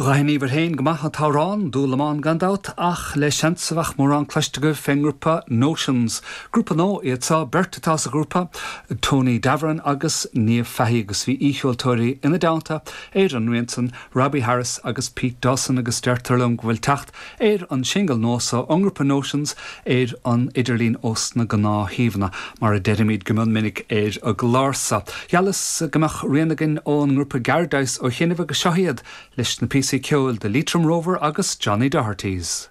D'aithníobhair féin go maith an t-amhrán, Dúlamán gan dabht, ach le seans a bheadh mórán cloiste agaibh fén ngrúpa Notions. Grúpa nua iad seo, beirt atá sa ghrúpa, Tony Davoren agus Niamh Fahey agus bhí aoicheoltóirí ina dteannta ar an rian san, Robbie Harris agus Pete Dawson agus deirtear liom go bhfuil teacht ar an singil nua so ón ngrúpa Notions ar an idirlíon ós na gnáthshuíomhanna, mar a deirimid go mion minic ar an gclár so. Gheallas go mbeadh rian againn ón ngrúpa Garadice ó chianaibh agus seo iad leis na píosaí ceoil The Leitrim Rover agus Johnny Doherty's.